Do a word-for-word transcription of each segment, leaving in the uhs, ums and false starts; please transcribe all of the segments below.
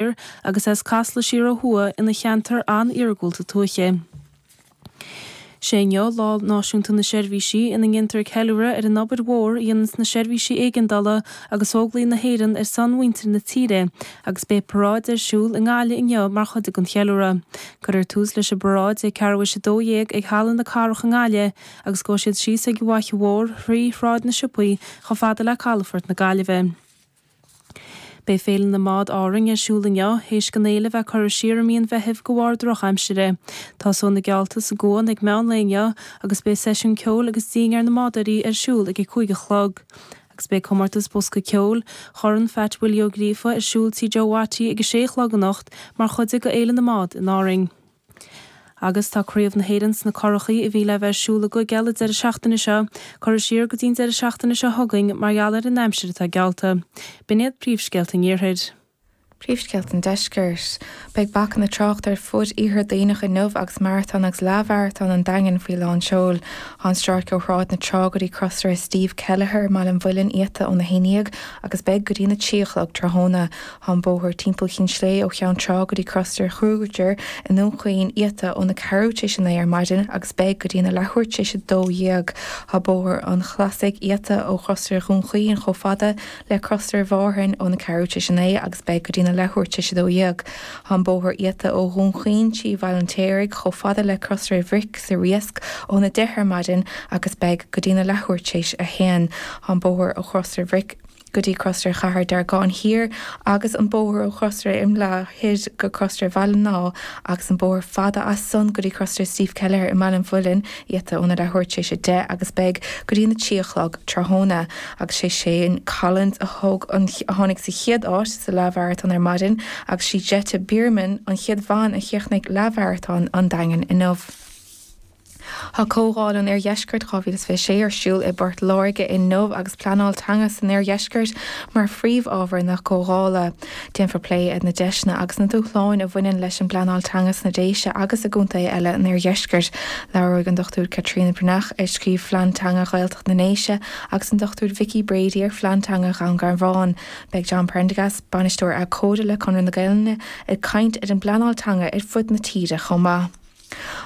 agus as Casla siar ó thuaidh ina cheantar an-iargúlta tuaithe. Sé inniu Lá Náisiúnta na Seirbhísí ina ndéantar ceiliúradh ar an obair mhór a dhéananns na seirbhísí éigeandála agus Óglaigh na hÉireann ar son mhuintir na tíre agus beidh paráid ar siúl i nGaillimh inniu mar chuid den cheiliúradh. Cuirfear tús leis an bparáid ag ceathrú théis a dó dhéag ag Halla na Cathrach i nGaillimh agus gabhfaidh siad síos ag an bhFaiche Mhór thrí Shráid na Siopaí chomh fada le Calafort na Gaillimhe. Beidh Féile na mBád Árainn ar siúl inniu, théis don fhéile bheith curtha siar i mí an Mheithimh de bharr drochaimsire. Tosóidh na geallta sa gcuan ag meán lae inniu agus beidh seisiún ceoil agus dinnéar na mbádóirí ar siúl ag a cúig a chlog. Agus beidh comórtas bosca ceoil Chorn Phat Willie Ó Gríofa ar siúl Tigh Joe Watty ag a sé a chlog anocht mar chuid de Fhéile na mBád in Árainn. Agus tá Craobh na hÉireann sna Curachaí a bhí le bheith ar siúl i gCúige Uladh an deireadh seachtaine seo, curtha siar go dtí an deireadh seachtaine seo chugainn mar gheall ar an aimsir atá geallta. B'in iad príomhscéalta an Iarthair. Príomhscéalta an Deiscirt. Beidh bacanna tráchta ar fud Iarthar Duibhneach inniu agus Maratón agus Leathmharatón an Daingin faoi lán seoil. Tá an stráice ó Shráid na Trá go dtí Crosaire Steve Kelleher i mBaile an Mhuilinn iata óna haon dhéag agus beidh go dtí na trí a chlog tráthnóna. Tá an bóthar timpeall Chinn Slé ó Cheann Trá go dtí Crosaire Kruger i nDún Chaoin iata óna ceathrú tar éis a naoi ar maidin agus beidh go dtí na leathuair tar éis a dó dhéag. Tá bóthar an Chlasaigh iata ó Chrosaire Dhún Chaoin chomh fada le Crosaire Mhárthain óna ceathrú tar éis a naoi agus beidh go dtí na leathuair tar éis a dó dhéag. Tá an bóthar iata ó Dhún Chaoin trí Bhaile an tSéaraigh chomh fada le Crosaire Bhric sa Riasc óna deich ar maidin agus beidh go dtí na leathuair tar éis a haon. Tá an bóthar ó Chrosaire Bhric go dtí Crosaire Chathair Deargáin Thiar agus an bóthar ó Chrosaire Imleá Thoir go Crosaire Bhaile an Átha agus an bóthar fada as san go dtí Crosaire Steve Kelleher i mBaile an Mhuilinn iata óna leathuair tar éis a deich agus beidh go dtí na trí a chlog tráthnóna agus sé Shane Collins a thóg an a tháinig sa chéad áit sa leathmharatón ar maidin agus sí Jette Biermann an chéad bhean a chríochnaigh leathmharatón an Daingin inniu. Tá Comhdháil an Oirdheiscirt dhá mhíle is fiche sé ar siúl i bPort Láirge inniu agus pleanáil teanga san Oirdheisceart mar phríomhábhar na comhdhála. Déanfar plé ar na deiseanna agus na dúshláin a bhaineann leis an bpleanáil teanga sna Déise agus i gcontaetha eile an Oirdheiscirt. Labhróidh an Dochtúir Caitríona Breathnach, a scríobh Phlean Teanga Ghaeltacht na nDéise, agus an Dochtúir Vicky Brady ar Phlean Teanga Dhún Garbhán. Beidh John Prendergast, bainisteoir abhcóide le Conradh na Gaelainne, ag caint ar an bpleanáil teanga ar fud na tíre chomh maith.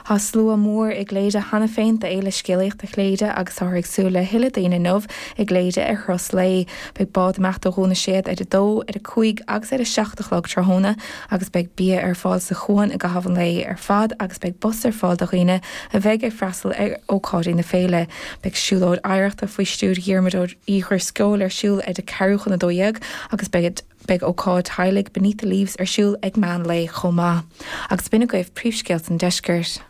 Tá slua mór i gCléire cheana féin d'Fhéile Scéalaíochta Chléire agus táthar ag súil le thuilleadh daoine inniu i gCléire ar thuras lae. Beidh bád ag imeacht ó Dhún na Séad ar a dó, ar a cúig agus ar a seacht a chlog tráthnóna agus beidh bia ar fáil sa chuan i gcaitheamh an lae ar fad agus beidh bus ar fáil do dhaoine a bheidh ag freastal ar ócáidí na féile. Beidh siúlóid oidhreachta faoi stiúir Dhiarmuid Uí Dhrisceoil ar siúl ar a ceathrú chun a dó dhéag agus beidh Beidh ócáid teaghlaigh Beneath the Leaves ar siúl ag meán lae chomh maith. Agus b'in agaibh príomhscéalta an deiscirt.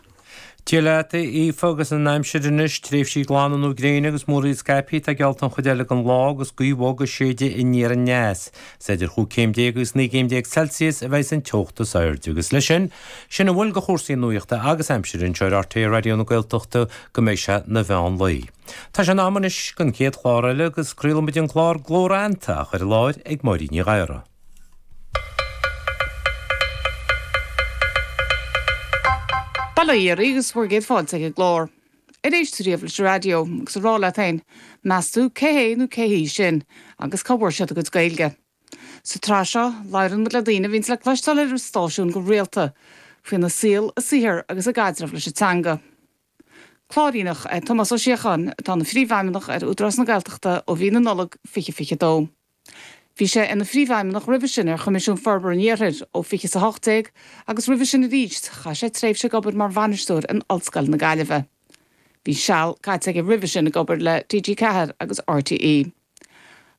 Dia leat, a Aoife, agus an aimsir anois, tréimhsí glana nó gréine agus múraíl scaipthe atá geallta an chuid eile den lá agus gaoth bhog ag séideadh aniar aneas. Is idir chúig céim déag agus naoi gcéim déag Celsius a bheidh an teocht is airde. Agus leis sin, sin a bhfuil de chúrsaí nuachta agus aimsire anseo ar RTÉ Raidió na Gaeltachta go mbeidh sé 'na mheán lae. Tá sé in am anois don chéad chlár eile agus craolfaimid an clár Glór Fheannta á chur i láthair ag Máirín Ní Ghadhra. Bail ó Dhia oraibh agus bhur gcéad fáilte ag an gclár. Ar éist tú riamh leis an raidió agus ag rá leat féin, meas tú cé hé nó cé hí sin agus cá bhfuair siad a gcuid Gaeilge? Sa tsraith seo, labhrann muid le daoine a bhíonns le cloisteáil ar an stáisiún go rialta, faoina saol, a saothar agus a gcaidreamh leis an teanga. Clár iontach é Tomás Ó Síocháin, atá ina Phríomhfheidhmeannach ar Údarás na Gaeltachta ó mhí na Nollag fiche fiche dó. Bhí sé ina Phríomhfheidhmeannach roimhe sin ar Choimisiún Forbartha an Iarthair ó fiche is a hocht déag agus roimhe sin arís chaith sé tréimhse ag obair mar bhainisteoir in Ollscoil na Gaillimhe. Bhí seal caite aige roimhe sin ag obair le T G ceathair agus R T E.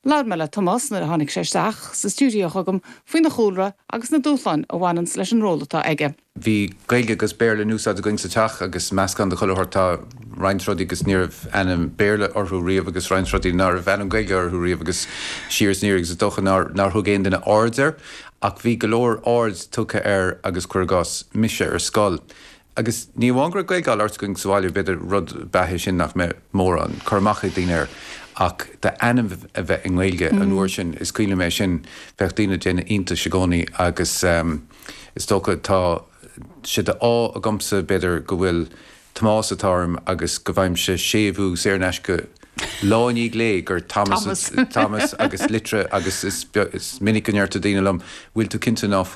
Labhair mé le Tomás nuair a tháinig sé isteach sa stiúideo chugam faoina chúlra agus na dúshláin a bhaineanns leis an ról atá aige. Bhí Gaeilge agus Béarla in úsáid againn sa teach agus meascán de chuile shórt. Tá roinnt rudaí agus ní raibh ainm Béarla orthu riamh agus roinnt rudaí ná raibh ainm Gaeilge orthu riamh agus siar is aniar agus is dócha nár nár thug aon duine aird air ach bhí go leor aird tugtha air agus cuir i gcás mise ar scoil. Agus ní amháin go raibh Gaeilge á labhairt againn sa bhaile, b'fhéidir rud ab ea é sin nach mbeadh mórán cur amach ag daoine air, ach d'ainm a bheith i nGaeilge an uair sin, is cuimhin liom é sin, bheadh daoine ag déanamh iontais i gcónaí agus is dócha tá sé d'ádh agamsa b'fhéidir go bhfuil Tomás atá orm agus go bhfaighimse séimhiú saor in aisce lá i ndiaidh lae gur Thomas Thomas, Thomas agus litre agus is, is minic go ndeir daoine liom bhfuil tú cinnte ná fuil